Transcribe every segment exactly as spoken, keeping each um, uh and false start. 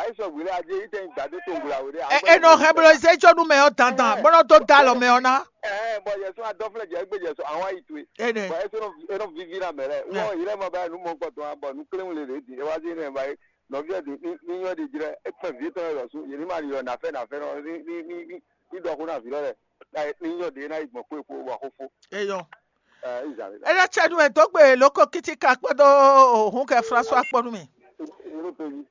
É sɔ hwi lɛ adé yi tɛn gbadé to ngula wé ɖé. E e nɔ hɛn bló zé jó nú mɛ ɔ́ dandan, bó nɔ dó dó alɔ mɛ ɔ́ ná. Ɛɛ, bɔ yɛ sɔn adɔflɛ jɛ egbe jɛ sɔn àwọn ayi to ye. Ene. Bɔ e sɔn e nɔ vivi na mɛ lɛ. Wɔ yi lɛ ma ba nu mɔ kpɔtɔ wa bɔ nu kléwun le le di e wa di ne ba ye. Nɔvi ɛ di ni ni nyɔ di jrɛ e kpɛn vi tɔn yɛ lɔ su yeli ma yɔ nafɛ nafɛ nɔ ni ni ni ni ni dɔ ko na vi lɔ lɛ. Ni nyɔ de na yi gbɔn kó e kó wa ko fo. Eyɔn. Ɛɛ, izan le. Ele tsɛ nu e dó gbe lóko kítíkà kpódó òhún kɛ François kpó nú mi.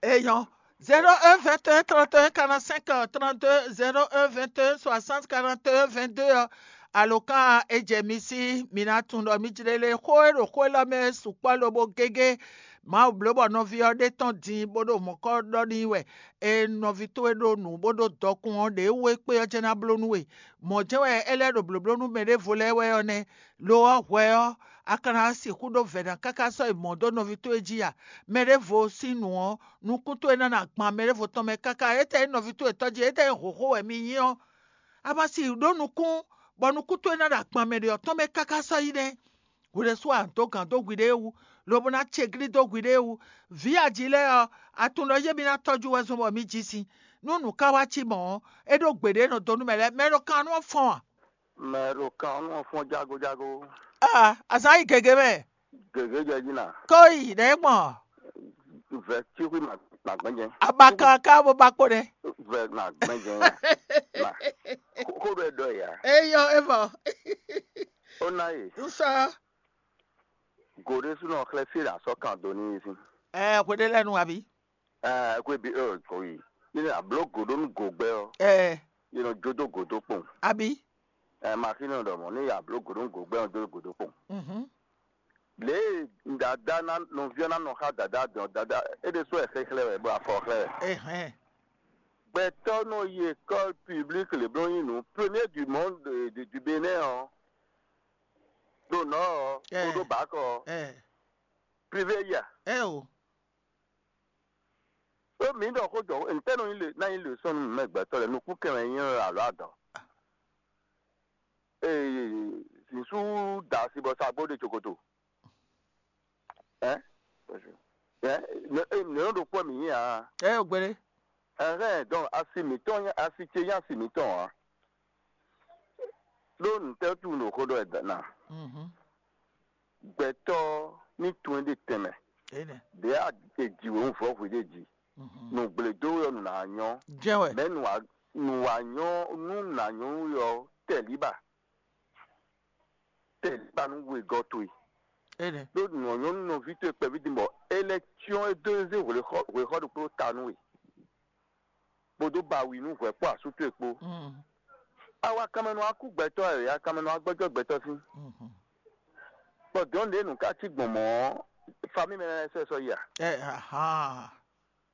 Eyɔn. Zéro un vingt et un trente et un quarante-cinq trente-deux, zéro un vingt et un soixante quarante et un vingt-deux ɔ́, alǒkan e jɛ mi sí, mi ná tunwun ɖɔ mi jlé lé xó e ɖo xó élɔ́ mɛ sukpɔ́ lobo gégé. Mawu bló bɔ nɔví ɔ́ ɖe tɔ́n din bó ɖo mɔ̌kɔ ɖɔ n'i wɛ. E nɔví towe ɖo nǔ bó ɖo dɔkun ɔ́, ɖě we kpé ɔ́ jɛ́n ná bló nú we. Mɔ̌ jɛ́n wɛ é lɛ́ ɖo blǒbló nú mɛ ɖěvo lɛ́ɛ wɛ ɔ́ nɛ́. Lo ɔ́, hwɛ ɔ́, a ka ná sixú ɖó vɛ̌ ná káká sɔ́ yi mɔ̌ dó nɔví towe jí a? Mɛ ɖěvo sín nǔ ɔ́, nukún towe ná ná gban mɛ ɖěvo tɔn mɛ káká. Étɛ́ nyí nɔví towe tɔn jí, étɛ́ nyí hǒxo wɛ mi nyí ɔ́, a ma si ɖó nukún, bɔ nukún towe ná ɖo agban mɛ ɖě ɔ́ tɔn mɛ káká sɔ́ yi nɛ́. Hwi ɖésú a nǎ dó gǎn dó hwiɖée wú, lobo ná ce glí dó hwiɖée wú. Vǐ aji lɛ́ɛ ɔ́, a tunwun ɖɔ yé mi ná tɔ́jú wɛ zɔn bɔ mi ji sin. Nú nǔ ka wá cí mɔ̌ ɔ́, é ɖó gbeɖé e nɔ dó nú mɛ lɛ́ɛ, mɛ e ɖo kan nú ɔ́ fɔ́n a? Mɛ e ɖo kan nú ɔ́ fɔ́n jágójágó. Aa, azǎn yi gěgé mɛ. Gěgé jɛ jí na. Kó yi ɖɛ̌ gbɔn. Vɛ tí xwí ma ma gbɛ́ jɛ. Abakan ká bó ba kpó ɖɛ. Vɛ ma gbɛ́ jɛ. Ma. Xó ɖɔ ɛ ɖɔ ya. Eyɔ evɔ. Ó ná yè. Nsá. Gǒɖé súnɔ xlɛ́ fí ɖo asɔ́ kan do ní sín. Ɛ hweɖé lɛ́ɛ nu abi. Ɛ kó ebi ɛ kó yi. Ní ní abló gǒɖó nú gǒgbɛ́ ɔ́, Ɛ ní nɔ jó dó gǒdó kpɔn. Abi. Ɛ maxínɔ ɖɔ mɔ̌ ní abló gǒɖó nú gǒgbɛ́ ɔ́ jó dó gǒdó kpɔn. Mhm. Lě e dada ná nɔví ɔ́ ná nɔ xá dada dɔn dada é ɖésú wɛ xexlɛ́ wɛ bɔ afɔ xlɛ́ wɛ. Ehɛn. Gbɛtɔ́ nɔ yi école publique le bló nyi nǔ premier du monde de- du Bénin ɔ́ ɖo nɔ ɔ́ Ɛ. Kódó bǎkɔ ɔ́ Ɛ. Privé ya. Ɛ o. Ó mǐ ɖɔ xó jɔ ntɛ́ nɔ nyí le ná nyí le sɔ́ nú mɛ gbɛtɔ́ lɛ́ɛ nukún kɛn wɛ nyí alɔ adɔ. Ee, zinsú da asi bɔ sa gbó ɖe cokoto. Ɛ ɛ nɔ ɖo kpɔ mǐ nyí a? Ɛ o gbére. Ɛhɛn, donc asi mǐtɔn nyí asi ce nyí asi mǐtɔn ǎ. Ɖó nǔtɛ́ wútu un ɖo xó ɖɔ wɛ na? Mhm. Gbɛtɔ́ ní tunwun é ɖe tɛnmɛ. Ene. Ɖě a è jǐ wěwunvɔ́ hwe ɖé jí. Mhm. Nǔgblédó wɛ ɔ́ nǔ ná nyɔ́. Jɛn wɛ. Mɛ̌ nǔ wá nǔ wá nyɔ́ nú nǔ ná nyɔ́ nú we ɔ́ tɛlíba. Tɛlíba nú wegɔ́ towe. Ene. Ɖó nǔ ɔ́ nyɔ́ nú nɔví towe kpɛví din bɔ é lɛ́ cyɔ́n é dó zé hwexɔ hwexɔ ɖokpó ta nú we. Kpódó bawi nú hwɛ kpó asú towe kpó. Mm. Awa kanmɛ nɔ wá kú gbɛtɔ́ ɛ, ya kanmɛ nɔ wá gbɔjɔ gbɛtɔ́ sín. Mhm. Bɔ dɔn ɖě nǔ ká cí gbɔn mɔ̌ ɔ́, famí mɛ lɛ́ɛ sɔ́ ɛ sɔ́ yi a? Ɛ ahan.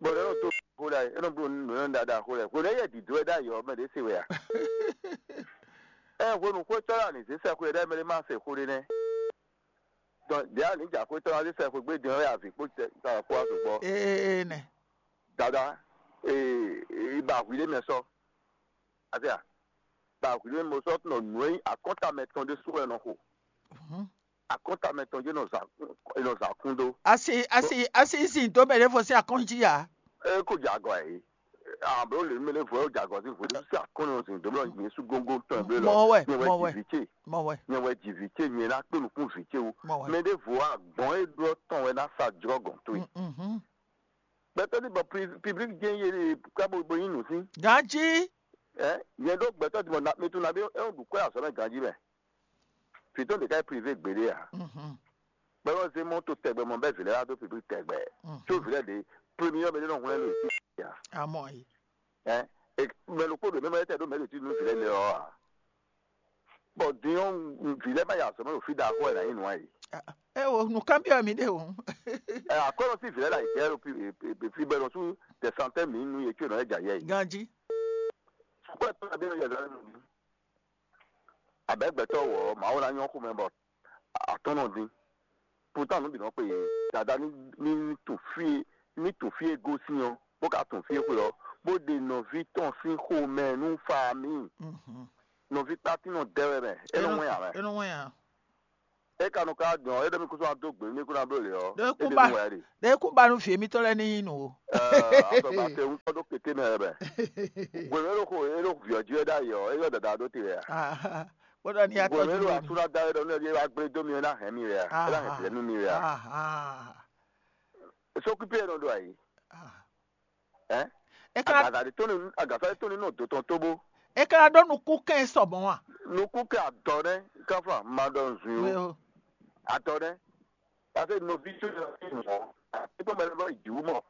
Bɔ ɖě nɔ dó xó ɖa é nɔ bló nǔ nɔ ɖaɖa xó lɛ hwenu e yɛ dǐdó wɛ ɖ'ayǐ ɔ́ mɛ ɖě se wɛ a? Ɛ hwenu xwétɔ́ lɛ anǐ zé sɛxwe ɖɛ́ mɛ ɖé ma se xó ɖé nɛ́. Dɔn ɖě anǐ jɛ xwétɔ́ lɛ zé sɛxwe gbé din ɔ́ wɛ avǐ kpó tɛ ta kpó wá sɔgbɔ. Ee nɛ. Dada ee ba hwi ɖé mɛ sɔ. Azia ba hwi ɖé mɛ sɔ tɔn nǔ e akɔnta mɛ tɔn ɖé sú wɛ nɔ xo. Mhm. Akɔnta mɛ tɔn jɛ nɔ za nɔ za kún ɖó. Asi asi asi zin dó mɛ ɖé fɔ sí akɔn jí ya. E ko jɛ agɔ yìí. Abo le mele vɔ jɛ agɔ sí vɔ sí akɔn nɔ zin dó mɛ yésu góngó tɔn blé lɔ. Mɔ wɛ, nyɛ wɛ mɔ wɛ. Jì vǐ ce. Mɔ wɛ. Nyɛ wɛ jì vǐ ce nyɛ ná kpé nukún vǐ ce wú. Mɔ wɛ. Mɛ ɖé vɔ agbɔn e ɖɔ tɔn wɛ ná sa jɔ gɔn tó yi. Mhm. Gbɛtɔ ní bɔ piblik jɛ yé ká bo bo yín nù sí. Ganji. Ɛ nyɛ ɖó gbɛtɔ dìbò na mi tún na bí ɛ ń dùn kó azɔ mɛ ganji mɛ. Fìtó ɖeka yɛ privé gbéɖé a. Mhm. Gbɛmɔ zé mɔ tó tɛgbɛ mɔ bɛ vǐ lɛ wá dó piblik tɛgbɛ. Mhm. Tó vǐ lɛ ɖe premier mɛ ɖé nɔ hun lɛ lò sí ya. Amɔ yi. Ɛ mɛ ló kpó ɖo mɛ mɛ tɛ ɖó mɛ ɖo tí nú vǐ lɛ lɛ ɔ a. Bɔ din ɔ vǐ lɛ ma yi azɔ mɛ ɖo fí ɖaxó ɛ na yi nù ayi. Ɛ o nùkan byɔ mi ɖe o. Ɛ akɔlɔ sí vǐ lɛ la yi kɛ ɖo fi bɛ nɔ sú tɛsantɛ mi nú yɛ tso nɔ yɛ dza yɛ yi. Ganji. Kó ɛ tó na bí nɔ yɛ zan nù. Abɛ gbɛtɔ wɔ mawu la nyɔ xomɛ bɔ atɔnɔ din. Pourtant nǔ bǐ nɔ kpe yě dada ní ní ní tun fí e ní tun fí e gosín ɔ́ bó ka tun fí e xwe ɔ́ bó ɖe nɔví tɔn sín xomɛ nú famille. Mhm. Nɔví kpátín nɔ dɛ wɛ mɛ é nɔ wɛn ǎ mɛ. É nɔ wɛn ǎ. É ka nɔ ka dɔn é ɖɔ mì kúsú ná dó gbě mì kú ná bló lě ɔ́. Ɖé kú ba ɖé kú ba nú vǐ émítɔn lɛ́ɛ ní nyí nǔ o. Azɔgba te ŋutɔ ɖó kéké mɛ wɛ. Hwenu e ɖo xo e ɖo vǐ ɔ́ jí wɛ ɖ'ayǐ ɔ́, é yɔ dada ɖó te wɛ a? Bó ɖɔ ní Hwenu e ɖo atɔ́jú. Asúná da wɛ ɖɔ nú ɛ ɖíe wá gblé dó mi é ná hɛn mi wɛ a? É ná hɛn vǐ lɛ́ɛ nú mi wɛ a? Sókúpí e nɔ ɖo ayǐ. Ɛ? É ka Agasa ɖé tó ní agasa ɖé tó ní nɔ dó tɔn tóbó. É ka ɖó nukúnkɛn sɔ mɔ̌ a? Nukún kɛ adɔ nɛ káfá ma ɖɔ nzun We yó. O. Adɔ nɛ. Parce que nɔví tó yɔ sí nɔ. Nípa mɛ lɔ ìdìwú mɔ.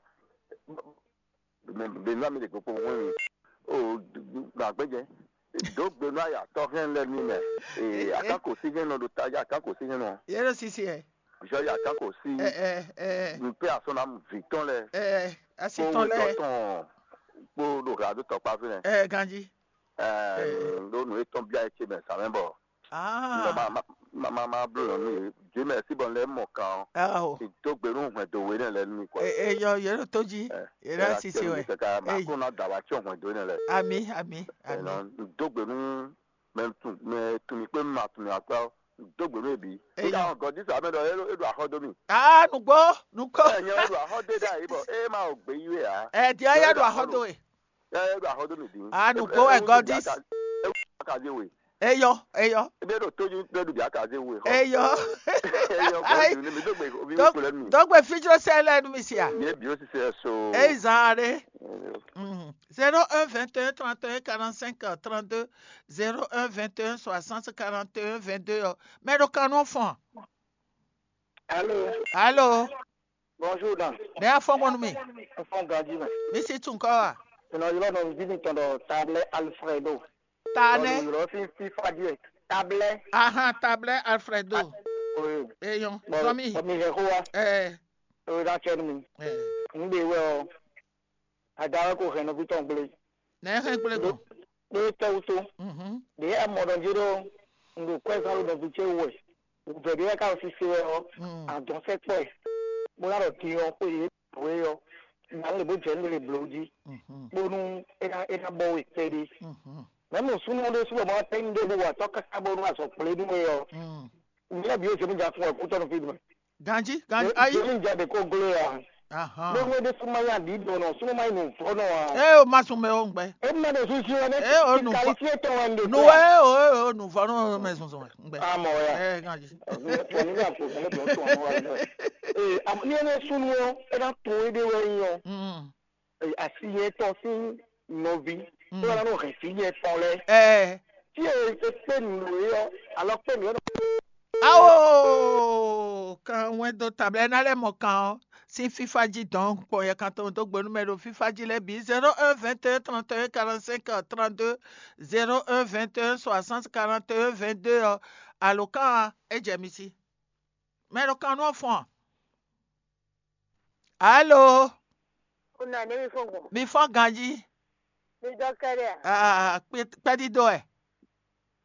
Bɛnú mi lè gbogbo wọn mi. O gbàgbé jẹ. Dó gbénú àyà tɔhɛn lɛ ní mɛ. Ee, akáko sí hɛn nɔ ɖo tajà akáko sí hɛn nɔ. Yé ɖo sisi ɛ. Jɔ ya akáko sí. Ɛ ɛ ɛ. N pé asɔnam vǐ tɔn lɛ. Ɛ asi tɔn lɛ. Tɔn kpó ɖo hla dó tɔkpá fínɛ. Ɛ ganji. Ɛ ɖó nǔ étɔn bia ɛ ce mɛ sàmɛ bɔ. Ah. Ma ma ma ma bló nɔ nú yě. Jimɛ sí bɔ lɛ mɔ kan ɔ. Aho. Ìdógbénú hwɛndo wé nɛ lɛ nú mi kɔ. Ɛ ɛ yɔ yé ɖo tó jí. Yé ɖo sisi wɛ. Kaka ma kó ná dàbà tí ò hwɛndo nɛ lɛ. Ami ami ami. Ìdógbénú mɛ tún mɛ tún mi kpé ma tún mi akpá ɔ. Dó gbě nú ebi. Eyɔ. Nígbà wọn gɔdí sàmì ɖɔ é ɖo axɔ dó mì. Aa nùgbó nùgbó. Ẹ nyɛ wɛ ɖo axɔ dé dá yìí bɔ é má wò gbé yí wé ǎ. Ɛ diɛ ya ɖo axɔ dó e. Ɛ é ɖo axɔ dó mì dín. Aa nùgbó wɛ gɔdí. Akaze we. Eyɔ eyɔ. Ebe ɖo tójú ɖe ɖu bi akaze we xɔ. Eyɔ. Eyɔ gɔdí ne mi dó gbé omi wé kplɛ mi. Dɔgbe fijrɔsɛ lɛ nu mi sia. Yé bi ó sisɛ so. Eyi zan aɖe. Zéro un vingt et un trente et un quarante cinq trente deux. Zéro un vingt et un soixante quarante et un vingt deux ɔ. Mɛ ɖo kan nɔ fɔn. Allô. Allô. Bonjour dan. Bɛ afɔ mɔnu mi. Fɔn ganji mɛ. Mi si tun kɔ wa. Ìnɔ yɔrɔ nɔ bí mi tɔn dɔ tablɛ Alfredo. Tanɛ. Yɔrɔ fi fi fadjɛ tablɛ. Ahan tablɛ Alfredo. Oui. Eyɔn. Zɔmi. Bɔmi hɛ xó wa. Ɛ. Oye da cɛ nu mi. Ɛ. N de wɛ ɔ. Ada wɛ ko hɛn nɔví tɔn gblé. Nɛ hɛn gblé gbɔn. Ɖó tɛ́wútó. Mhm. Ɖě a mɔ ɖɔ jí ɖó un ɖo kwɛ́ zán ɖo nɔví ce wú wɛ. Vɛ̌ ɖé wɛ ká ɖo sise wɛ ɔ́, Mm. Adɔn sɛkpɔ́ ɛ. Bó ná ɖɔ din ɔ́ xwé yě wé ɔ́, ná lě bó jɛ nú lě bló jí. Mhm. Bónú é ná é ná bɔ we kpɛɖé. Mhm. Mɛ̌ mɔ súnnu ɖé sú bɔ ma tɛ́ nyi ɖé bó wa tɔ́ káká bónú azɔ̌ kplé nú we ɔ́. Mm. Nyɛ lɛ́ bǐ ó zě mí ja fún wɛ kútɔ́ nɔ fí dùn. Ganji ganji ayi. Jeli ja de ko glo ya. Ahan. Gbogbo de suma ya di dɔn nɔ suma ma yi nu fɔ nɔ wa. Ee o ma sun mɛ o ŋgbɛ. E ma de susu wɛ ne. Ee o nu fɔ. Kali fie tɔn wa de. Nu wɛ o o nu fɔ nɔ mɛ sunsun wɛ ŋgbɛ. Amɔ ya. Ee ganji. Fɔ ni ka ko fɔ ne bɔ tɔn wa. Ee am ni ne sunu o e na to e de wɛ yi o. Mm. Asi yɛ tɔn sin nɔvi. Mm. Tó wà lánàá hɛn sí yɛ tɔn lɛ. Ee. Tí e e pé nù é ɔ alɔ pé nù é. Ao kan wɛn dó tablɛ ná lɛ́ mɔ kan ɔ́ sín fífá jí dɔn kpɔn yɛ kan tɔn dó gbe nú mɛ ɖo fífá jí lɛ́ɛ bǐ zéro un vingt et un trente et un quarante cinq trente deux. Zéro un vingt et un soixante quarante et un vingt deux ɔ́. Alo kan é jɛ mi sí. Mɛ ɖo kan nú ɔ́ fɔn. Alo. Una ne mi fɔn gbɔn. Mi fɔn ganji. Mi dɔ kɛɖɛ a. Aa kpɛdídó ɛ.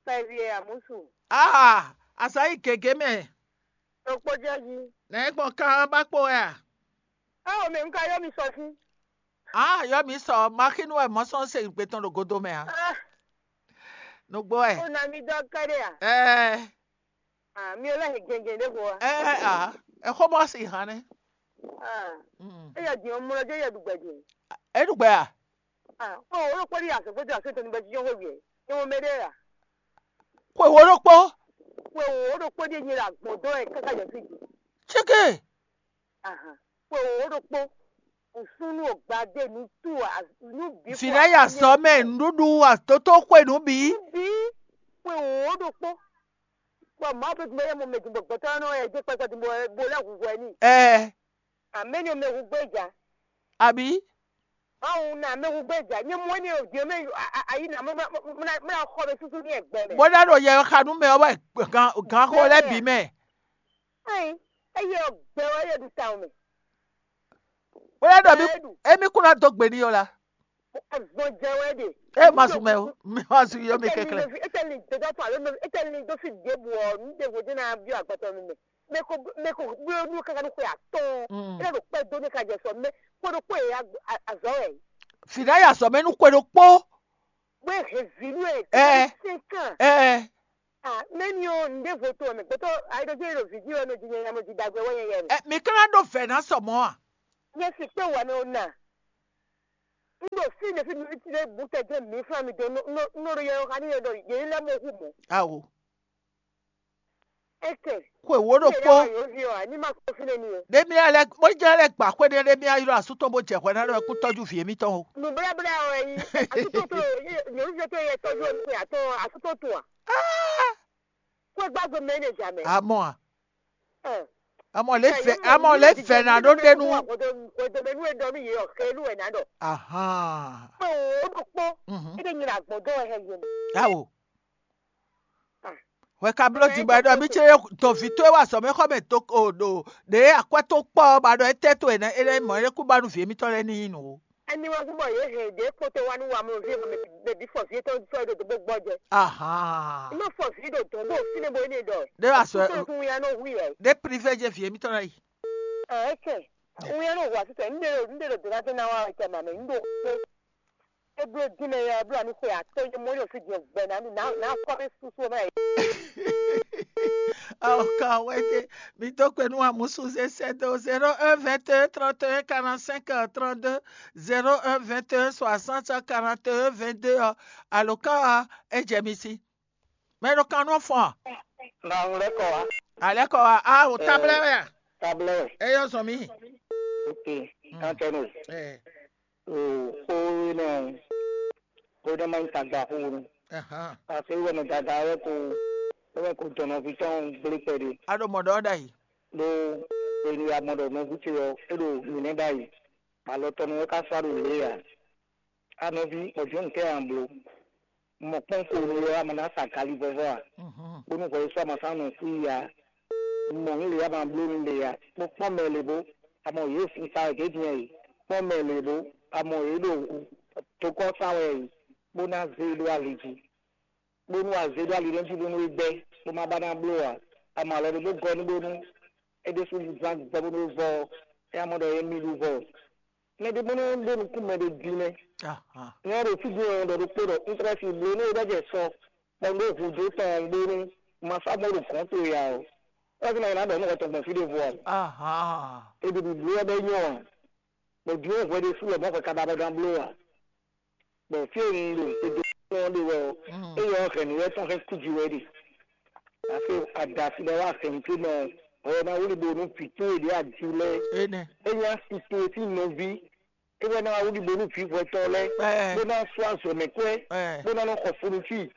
Kpɛvi ɛ amusu. Aa asa yi gègé mɛ. Ɖokpó jɛ jí. Nɛ gbɔn kan ba kpo ɛ a. Awo mɛ nka yɔ mi sɔ fún. Aa yɔ mi sɔ maxinu ɛ mɔ sɔn se gbe tɔn ɖo godo mɛ a. Ah, Nugbo ɛ. Una mi dɔ kɛɖɛ a. Ɛɛ. Ah, mi ò lɛ hɛn gɛngɛn ɖé ko wa. Ɛɛ a. Ɛxɔ mɔ si hàn nɛ. Ah. Mm. Eya di ɔmɔ lɔ jɛ yɛ ɖugbɛ di. Eɖugbɛ a. Ah, o o ɖokpɔ ɖi asɔgbɔ di asɔ tɔn bɛ jiyɔn hwe wiɛ. Nyɔmɔ mɛ ɖe ya. Xwe wo ɖokpɔ. Xwe wo ɖokpɔ ɖi enyi la gbɔn dɔ ɛ kaka jɛ fi di. Tseke. Ahan. Xwe wo ɖokpɔ. Nsunu ogbade nutu a nu bi. Fina ya sɔ mɛ nuɖuɖu atoto xwe nu bi. Bi. Xwe wo ɖokpɔ. Bɔ Mawu ƒe dun bɔ yɛ mɔ mɛ dun bɔ gbɛtɔ nɔ yɛ dze kpɛkpɛ dun bɔ bo lɛ hu hwɛ ni. Ɛɛ. Amɛ ni mɛ hu gbɛ ja. Abi. Mawu na mɛ hu gbɛ ja. Nye mɔ ni o diɛ mɛ ayi na mɛ mɛ xɔ mɛ susu ni ɛgbɛ mɛ. Bó dá ɖo yɛ xanu mɛ ɔ́ wɛ gan gan xo lɛ bi mɛ. Ayi, eye ɔgbɛ wɛ yɛ ɖu ta mɛ. Bó dá ɖɔ mi emi kún ná dó gbe ní yɔ la. Azɔn jɛ wɛ de. E ma sun mɛ o, mi ma sun yɔ mi kɛkɛ. Etɛli ni dodo tɔ alo etɛli ni do fi de bu ɔ nu de wo de na bi agbɔtɔ mi mɛ. Mɛ ko mɛ ko blo nu kaka nu xwe atɔn. Mm. Ele do kpɛ do ne ka jɛ sɔ mɛ ko do kpɛ ya azɔ wɛ. Fina ya sɔ mɛ nu kwe do kpo. Wɛ he vi nu ɛ. Ɛ. Cinq ans. Ɛ. Ah, mɛni ɔ́, nǔɖé vo to mɛ gbɛtɔ́ ayiɖɔjɛ ɖo vǐ jí wɛ nɔ jí nyɛ yamɔ jí dagbe wɛ nyɛ yɛ mɛ. Ɛ, mi ka ná ɖó vɛ̌ ná sɔ mɔ̌ a? Nyɛ si kpe wà mɛ ɔ́ na. Un ɖo fí ɖe fí mi ti ɖe bu tɛ jɛ mi fún mi do nɔ ɖo yɛ ɔ́ xa ní yɛ ɖɔ yě lɛ́ mɔ hu mɔ. Awo. Eke. Xwe wo ɖo kpó. Yě yá yǒ vi ɔ́, ní ma kó fí nɛ ní yɛ. Ɖé mi lɛ bó jẹ́ lɛ gbà xwé ɖé ɖé mi ylɔ́ asú tɔn bó jɛ hwɛ ná ɖɔ kú tɔ́jú vǐ émítɔn o. Nǔbláblá ɔ́ wɛ nyí asútó tó nyɔ̌nu fífẹ́ tó yɛ tɔ́jú ɔ́ nú asútó tó a. Kó gbàgbé mɛ ní jà mɛ. Amɔ a. Amɔ lè fɛ amɔ lè fɛ na ɖó ɖenu. Hwedome nú e ɖɔ nú yě ɔ́ xé nú wɛ ná ɖɔ. Ahan. Pé o ɖo kpó. É ɖe nyina gbɔn dó wɛ hɛ yé mɛ. Awo. Hwɛ ka bló din bɔ é ɖɔ mí ce ɖo vǐ towe wá azɔ̌ mɛ xɔ mɛ do o ɖo ɖě akwɛ́ tó kpɔ́ ɔ́ ba ɖɔ étɛ́ towe nɛ́ é lɛ́ mɔ é kú ba nú vǐ émítɔn lɛ́ɛ ní nyí nǔ ó. Ɛni wɛ gúbɔ yě hɛn ɖě kpótó wá nú wa mlɔví e mɛ bǐ fɔ vǐ tɔn sɔ́ ɖo dǒgbó gbɔ́ jɛ. Ahan. Nú fɔ vǐ ɖo dɔ̌n ɖo fínɛ́ bo énɛ́ ɖɔ. Ɖé wá sɔ Kútó tún ya nɔ hu yɛ. Ɖé privé jɛ vǐ émítɔn lɛ́ɛ yi. Ɛkɛ. Ŋun ya nɔ hu asítɛ. Ŋɖe ɖo ŋɖe ɖo dona tɛ na wa wɛ tɛ ma mɛ. Ŋɖo kpé. Eblo dín mɛ yɛ eblo ani xwe atɔ́ yɛ mɔ yɔ fi diɛ gbɛ na nu na na kɔ mɛ susu mɛ. Awɔ ka wɛ te. Mi to kwe nu amusu se sɛ do zéro un vingt et un trente et un quarante-cinq trente-deux, zéro un vingt et un soixante quarante et un vingt-deux ɔ. Alo ka wa e jɛ mi si. Mɛ ɖo kan nɔ fɔn. Nǎ lɛ́ kɔ wá. Alɛ kɔ wa a o tablɛ wɛ a? Tablɛ wɛ. Eyɔ zɔn mi. Ok. Kantɛnu. Ɛ. O xó nɔ xó nɔ ma nyí tagba xó nu. Ahan. Parce que wɛmɛ dada wɛ ko wɛ ko dɔnɔvi tɔn gblé kpɛɖé. A ɖo mɔ ɖɔ ɖa yi. Ɖó eni ya mɔ ɖɔ nɔví ce ɔ́ é ɖo mǐnɛ́ ɖa yi. Alɔ tɔn nɔ wɛ ka sɔ́ ɖo lě a? A nɔví, mɔ̌ jɔ́n nǔ kɛ a nǎ bló? Mɔ kpɔ́n ko nu lɔ a ma ná sa gali vɔvɔ a? Bónú hwɛ yi sɔ́ a ma sá nɔ xwí ya. Mɔ nǔ lě a ma bló nú lě a? Kpɔ́n kpɔ́n mɛ lě bó, a mɔ yě sin sa wɛ gěgé ɛ. Kpɔ́n mɛ lě bó, a mɔ yě ɖo tokɔ́ sa wɛ ɛ, bó ná zé e ɖó ali jí. Bónú a zé ɖó ali nɛ́ jí bónú é gbɛ́, bó má ba ná bló ǎ. A mɔ alɔ ɖé bó gɔ́ nú bónú é ɖésú zán gbɛ bónú é vɔ ɔ́, é ná mɔ ɖɔ é mì ɖu vɔ. Mɛ ɖé bónú ɖó nukún mɛ ɖé din mɛ. Nyɛ ɖo fí din ɔ́ ɖɔ ɖokpó ɖɔ un tlɛ si bló nú é ɖɔ jɛ sɔ kpɔ́n ɖó hǔndó tɔn bónú ma sá gbɔn ɖo gɔ̌n towe ǎ ɔ́. É wá ná ɖɔ nú hwɛ tɔn gbɔn fí ɖěvo ǎ. Ahan. Eɖi bǐbló ɔ́ bɛ nyɔ ǎ. Bɔ din ɔ́ hwɛ ɖésú lɔ mɔ̌ hwɛ ka ba bɔ gán bló ǎ. Bɔ fí e un ɖo gbeɖé tɔn ɖe wɛ ɔ́, éyɛ́ ɔ́ hɛ̌nnú wɛ tɔn hɛn kú jí wɛ ɖe. Afi adasi ɖɔ wá hɛ̌nnu ce mɛ ɔ́, hwɛ ná wlí bo nú vǐ towe ɖě aji lɛ́ɛ. Énɛ́. É nyí asi towe sín nɔví. É wɛ ná wá wlí bo nú vǐ hwɛtɔn lɛ́ɛ, bó ná sú azɔ̌ mɛ kwɛ́, bó ná nɔ xɔ funu fí.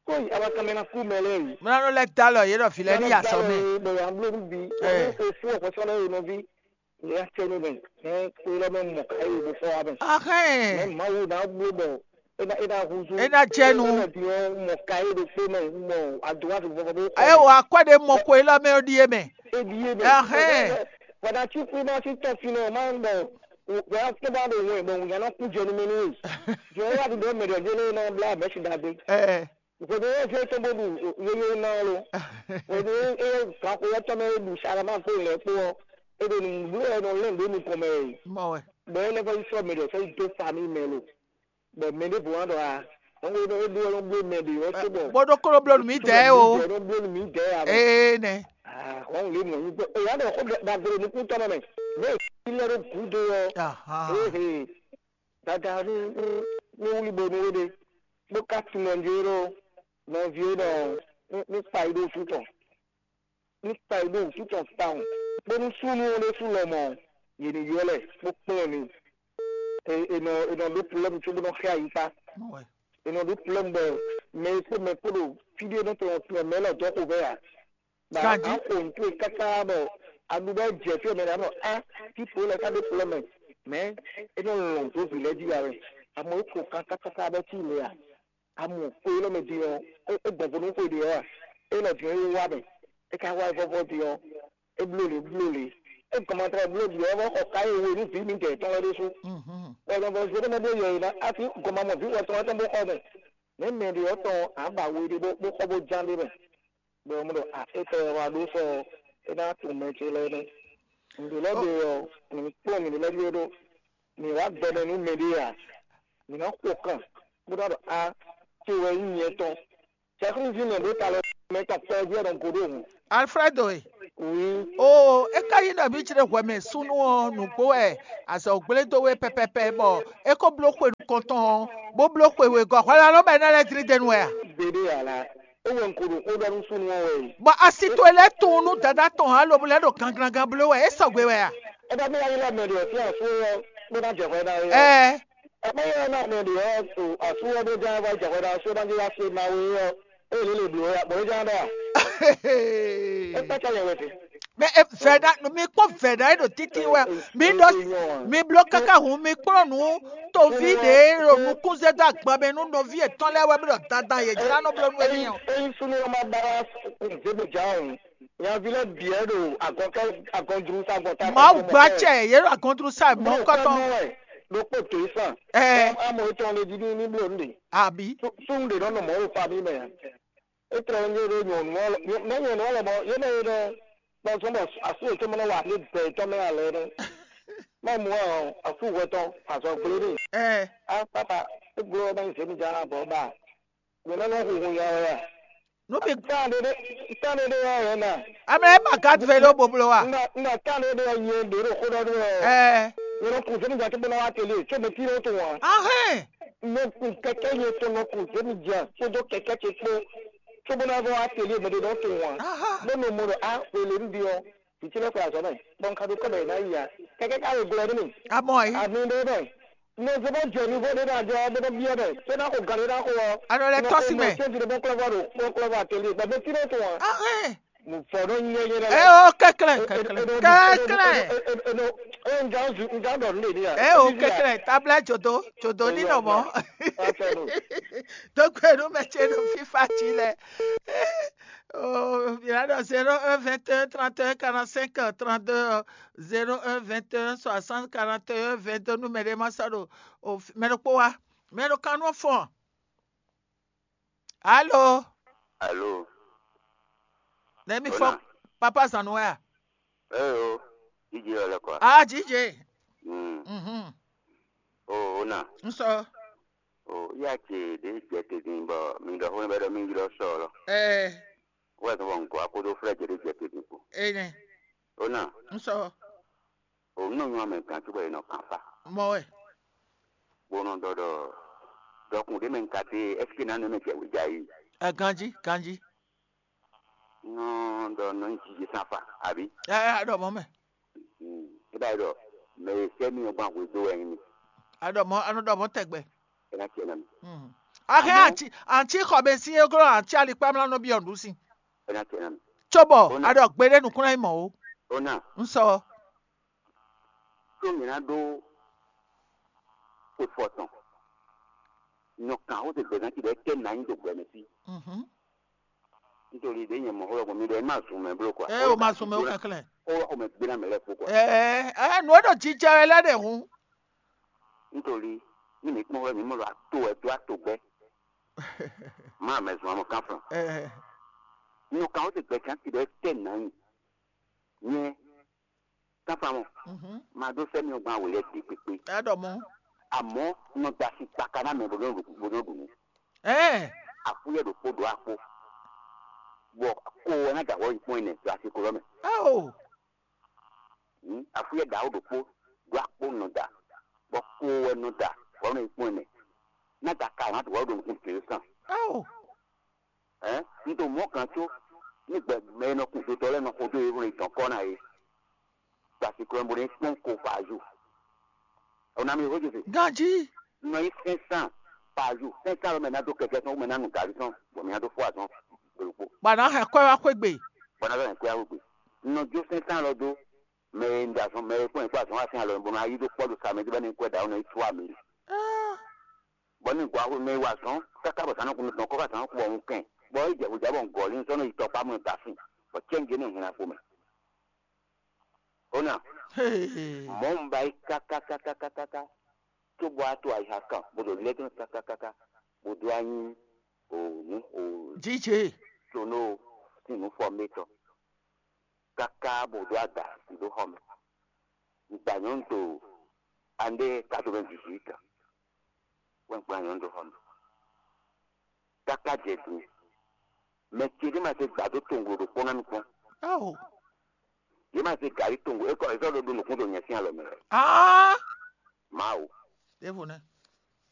Kó yi awakanmɛ ná kú mɛ lɛ́ɛ yi. Mlá nɔ lɛ́ dó alɔ yě ɖɔ vǐ lɛ́ɛ ní yi azɔ̌ mɛ. Bɔ yě á bló nú bǐ, bɔ nú xwe fú ɔ̀xɔsɔ́ lɛ́ɛ yi nɔví. Lě acɛ́nú mɛ, mɛ kpé lɔ́ mɛ mɔ ká yi bó fɔ wá mɛ. Mɛ Axɛ́n. Mawu ná bló bɔ é ná é ná húzú. É ná jɛ nu. É ná di ɔ́ mɔ ká yi ɖokpó mɛ mɔ adó wá fi fɔfɔ bó kɔ. Ɛ wɔ akwɛ́ ɖe mɔ ko élɔ́ mɛ ɔ́ ɖíe mɛ. É ɖíe mɛ. Axɛ́n. Bɔ̀dá tí kú má sí tɔn fi nɔ má ń bọ̀ wọ́n á tó bá ɖo wọ́n ẹ̀ bọ̀ wọ́n yàrá kú jẹ ní mẹ́nu wò. Jọ wá ti dọ́ mẹ̀dọ̀ jẹ́ lórí náà blá mẹ́sì dàgbé. Ɛ. Ìkòtò yóò fi tó bó du yóyó náà lo. Ìkòtò yóò kàn kó yẹ tọ́ mẹ́ du sara máa kó ilẹ̀ kpó ọ́. Ebe nùgbò ẹ̀ nọ lẹ́nu ló nukɔn mɛ yìí. Mɔ wɛ. Bẹ́ẹ̀ lẹ́fọ́ yìí sọ mẹ̀dọ̀ fẹ́ yìí tó fa mi mẹ́ lo. Bɔ mɛ ɖěvo wá ɖɔ a, ɔ́n ɖó ɖó ɖó ɖó bló mɛ ɖě ɔ́ tó bɔ. Bó ɖó kóló bló nǔ mì dɛ̌ o. Ɖó bló nǔ mì dɛ̌ a bɔ. Ee nɛ. Aa ɔ́n lé mɔ yín gbɔ. Eya ɖɔ xó dagbe nukúntɔ́ nɔ mɛ. Mɛ ilé ɖó gǔdo ɔ́. Ahan. Ehe. Dada ní ní ní wúlí bo ní wé ɖe. Bó ká tunɔ njí ɖó nɔví é nɔ ní ní kpa yi ɖó fútɔn. Ní kpa yi ɖó wǔtútɔn tawun, bónú súnnu ɔ́ ɖésú lɔmɔ̌, yě ní ylɔ́ lɛ bó kplɔ́n mi. È nɔ è nɔ ɖó plɔ́mu cóbó nɔ xyá ayixa. È nɔ ɖó plɔ́mu bɔ mɛ e kpó mɛ kpó ɖo fí ɖé nɔ tɔn tɔn mɛ lɔ dɔ́ xo vɛ ǎ. Bɔ a xo nǔ towe káká bɔ a ɖu bɔ jɛ fí ɔ́ mɛ ɖě a nɔ á fí ko lɛ́ɛ ká ɖó plɔ́mu mɛ. Mɛ é nɔ lɔn dó vǐ lɛ́ɛ jí ya wɛ. Amɔ é ko kákákáká bɔ cí le ǎ. Amɔ xwe élɔ́ mɛ din ɔ́, é gbɔn vo nú xwe ɖě ɔ́ a? É nɔ din ɔ́, é wá mɛ. É ka wá vɔ́vɔ́ din ɔ́, é bló lě bló lě. É gɔn ma tlɛ bló din ɔ́, é vɔ́ xɔ ká e we nú vǐ mǐdɛɛ tɔn lɛ́ɛ ɖésú. Bɔ nɔ vɔ zé ɖé mɛ ɖó yɛ e ná asi gɔn ma mɔ vǐ wɛ tɔn lɛ́ɛ tɔn bó xɔ mɛ. Nɛ̌ mɛ ɖě ɔ́ tɔn ǎ ba we ɖé bó xɔ bó ján ɖé mɛ? Bɔ un ɖɔ a étɛ́ wɛ wá ɖó sɔ é ná tunwun mɛ ce lɛ́ɛ nɛ́. Nǔɖé lɛ́ɛ ɖe ɔ́, mǐ ní kplɔ́n mǐ lɛ́ɛ ɖíe ɖó. Mǐ wá gbɛmɛ nú mɛɖé ǎ. Mǐ ná xo kan bó ná ɖɔ a ce wɛ nyí nyɛ tɔn. Cɛkúnzí mɛ ɖó ta lɔ. Mɛ tɔn pɛ́ ɔ́ jí wɛ nɔ go ɖó hǔn. Alfredo e. Oui. Oo, é ka nyí ɖɔ mǐ jlé hwɛ mɛ súnnu ɔ́ nǔgbó wɛ azɔ̌ gblé dó we pɛpɛpɛ bɔ é ko bló xwe nukɔntɔn ɔ́, bó bló xwe wegɔ́ hwɛlánɔ́ bɔ é ná lɛ́ dlí dɛ́ nú wɛ a? Gbeɖé ǎ lá. É wɛ un ko ɖo xó ɖɔ nú súnnu ɔ́ wɛ. Bɔ asi towe lɛ́ tunwun nú dadá tɔn ǎ lobo lɛ́ ɖo ganglangán bló wɛ é sɔgbe wɛ a? É bá mɛ wá ylɔ́ mɛ ɖě ɔ́ sín asú ɔ́ bó ná jɛ hwɛ ná é ɔ́. Ɛɛ. É bá ylɔ́ ná mɛ ɖě ɔ́ ɖo asú ɔ́ bó ján wá jɛ hwɛ ná asú ɔ́ ná jɛ wá se ná wé ɔ́, é lě lě blǒ wɛ bɔ é ján ɖɔ a? É kpácá yɛ wɛ te. Mɛ e vɛ̌ ná mi kpɔ́n vɛ̌ ná e ɖo títí wɛ mi ɖɔ mi bló káká hun mi kplɔ́n nǔ toví ɖě e ɖo nukúnzɛ́ dó agban mɛ nú nɔví yětɔn lɛ́ɛ wɛ bó ɖɔ dandan yě jlá nɔ bló nú émí ɔ́. Ényí súnnu ɔ́ ma ba wá zěmijǎn o, nyaví lɛ́ɛ bǐ wɛ ɖo agɔnkɛ́ agɔnjru sa gbɔn ta. Mawu gbacɛ yě ɖo agɔntrú sa mɔ̌kɔtɔn. Ɖokpó dǒ yi san. Ɛɛ. Amɔ etɔn le jí ní ní bló nɖe. Àbí. Súnnu ɖě nɔ nɔ mɔ̌ ɖo famille mɛ. É tlɛ nyé ɖó nyɔ̌nu ɔ́, mɛ nyɔ̌nu ɔ́ lɔmɔ̌ yé mɛ é ɖɔ kpɔ́zɔn bɔ asú yětɔn mɛ nɔ wa ní bɛ yětɔn mɛ alɛ nɛ́. Má mɔ ɔ́, asú hwɛ tɔn azɔ gblé n'i. Ɛɛ. Á papa, é gbló ɔ́ má nyí zěmijǎn abɔ ba. Mɛ nɔ nɔ hu hun ya wɛ a? Nú mi Tán ɖé ɖé tán ɖé ɖé wɛ wɛ na. Amlɛ é ma gǎn vɛ ló boblo wa. Nda nda tán ɖé ɖé wɛ nyɛ ɖě ɖo xó ɖɔ ɖó wɛ. Ɛɛ. Nyɛ nɔ kun zémi jà tó bó ná wá télé, tó mɛ tí ó tó wá. Ahɛn. Mɛ kun kɛkɛ nyɛ tó nɔ kun zémi jà tó dó kɛkɛ tó kpó. Tó bó ná vɔ wá télé mɛ ɖé nɔ tó wá. Aha. Bó nɔ mɔ ɖɔ a wele nu bi ɔ. Vǐ ce lɛ́ɛ xwe azɔ̌ mɛ, bɔ un ka ɖo kɔ́ mɛ yě ná yi ǎ. Kɛkɛ́ ka wegɔ́ ɔ́ nú mì. Amɔ ɛ. Ami ɖé mɛ. Nɔ zé bó jɛ mi vo ɖé ná jɔ ɔ́ bó nɔ byɔ́ mɛ. Tó ná xo gan ɖé ná xo ɔ́. Anɔ lɛ́ tɔ́ sí mɛ. Tó fi ɖé bó klɔ́ vɔ ɖo kpɔ́ klɔ́ vɔ atelier gbɛ mɛ tí nɔ tún ǎ. Ahɛn. Vɔ̌ nɔ nyɛ nyɛ lɛ́. Ɛ o kɛklɛn kɛklɛn kɛklɛn. Ɛ o kɛklɛn tabla jodo jodo ní nɔ mɔ. Dókòwé nú mɛ ce nú fífa cí lɛ. Oh, il a dans zéro un vingt et un trente et un quarante-cinq trente-deux, zéro un vingt et un soixante quarante et un vingt-deux, numéro de ma sado. Oh, mɛ ɖokpó wa. Mɛ ɖo kan nɔ fɔn. Allô? Allô? Nɛ mi fɔ papa zanu wɛ a? Eyo, jije wɛ lɛ kɔ. Ah, jije. Mm. Mhm. O, o na. N sɔ. O, ya ce ɖe jɛ te din bɔ mi ɖɔ xó bɛ ɖɔ mi ylɔ sɔ lɔ. Ɛɛ. Wɛ zɔn bɔ n kɔ akodo flɛ jɛ ɖe jɛ te din ko. Enɛ. O na. N sɔ. O nɔ nyɔ mɛ kan tu bɔ e nɔ kan fa. Mɔ wɛ. Bo nɔ ɖɔ ɖɔ dɔkun ɖe mɛ n ka te ɛsike na nɔ mɛ jɛ wɛ ja yi. Ɛ ganji ganji. Nɔ ɖɔ nɔ nyi jiji san fa abi. Ɛ ɛ aɖɔ mɔ mɛ. E ba yi ɖɔ mɛ e sɛ mi ɔgban hwe do wɛ nyi mi. Aɖɔ mɔ anɔ ɖɔ mɔ tɛgbɛ. E na tiɛ na mi. Ahɛn anti anti xɔmɛsin e glɔ́ anti alikpamla nɔ byɔ́ nǔɖusin. E na tiɛ na mi. Cóbɔ aɖɔ gbeɖé nukúnná yi mɔ o. O na. N sɔ. Có mǐ ná ɖó xwe fɔ tɔn. Nyɔ kan xó se gbɛzán ci ɖɔ é kɛ nǎ nyi ɖo gbɛ mɛ fí. Nítorí ɖě nyɛ mɔ xó lɔ gbɔn mi ɖɔ é má zun mɛ bló kɔ. Ɛ o ma zun mɛ o kɛnklɛn. Xó lɔ xó mɛ gbéná mɛ lɛ́ɛ kpó kɔ. Ɛ ɛ nǔ e ɖo jijɛ wɛ lɛ́ɛ ɖe hǔn. Nítorí ní mi kpɔ́n wɛ mi mɔ ɖɔ ato wɛ dó ato gbɛ. Má mɛ zun amɔ kánflɔn. Ɛ Nyɔ kan xó se gbɛzán ci ɖɔ é kɛ nǎ nyi. Nyɛ Káfá mɔ, ma ɖó sɛ́ mì ɔ́ gbɔn awě lɛ́ɛ gbe kpékpé. Ɛ ɖɔ mɔ. Àmọ́ nɔ da sin kpaka ná mɛ bó nɔ ɖu bó nɔ ɖu nǔ. Ɛɛ. Àkúyɛ ɖokpó ɖó akpó. Bɔ ko ɔ́ ná da wɔ yi kpɔ́n ɛnɛ ɖo asi ko lɔ mɛ. Ao. Àkúyɛ ɖawo ɖokpó ɖó akpó nɔ da. Bɔ ko ɔ́ nɔ da wɔ nɔ yi kpɔ́n ɛnɛ. Ná da ka ná da wɔ ɖo nukún tě sàn. Ao. Ɛn, un ɖo mɔ̌ gǎn có ní gbɛ mɛ e nɔ kun dotɔ lɛ́ɛ nɔ xo dó yěhún e dɔn kɔ́ ná é. Gbasi klɔ́ bó ní kpɔ́n ko par jour. Ɔ́ ná mi xó Jose. Ganjí. Nɔ nyí cinq cents par jour. Cinq cents lɔ mɛ ná dó kɛkɛ tɔn, mɛ ná nu gǎví tɔn, bɔ mɛ ná dó fó azɔn ɖokpó. Bɔ a nǎ hɛn kwɛ́ wá xwé gbe. Bɔ ná dó hɛn kwɛ́ wá xwé gbe. Un nɔ jó cinq cents lɔ dó mɛ e un ɖe azɔn, mɛ e kpɔ́n nyɛ kpó azɔn wá sín alɔ bó ná yí dó kpɔ́ ɖo sa mɛ jí bɔ ní kwɛ́ ɖǎ ɔ́ nɔ yi sú amǐ. Bɔ ní gɔ́ axwé mɛ wá zɔn káká bɔ zǎn nɔ kun tɔn kɔ́ ká zǎn nɔ kun bɔ un kɛn, bɔ é jɛ hwejǎ bɔ un gɔ́ lín sɔ́ nɔ yi tɔkpá mɔ da sin, bɔ cɛ́ngé nɔ hɛn apo mɛ. Ó nà, mɔ̌ un ba yi kákákákákáká, cóbɔ á to ayixa kan bó ɖo lɛ́ dɔn kákákáká, bó dó anyi o nǔ o Jijɛ. Tonó sín nǔ fɔ mɛ tɔn, káká bó dó ada dó xɔ mɛ. Un gba nyɔ̌nu to andé quatre-vingt-dix-huit, wɛ un gba nyɔ̌nu dó xɔ mɛ. Káká jɛ din, Mɛ ce ɖé ma se gbǎ dó tonglo ɖokpó ná mi kpɔ́n. Ao. Yě ma se gǎrí tonglo é kɔ é sɔ́ ɖo ɖo nǔkún ɖo nyɛ sín alɔ mɛ. Ah. Mawu. Ɖěvo nɛ.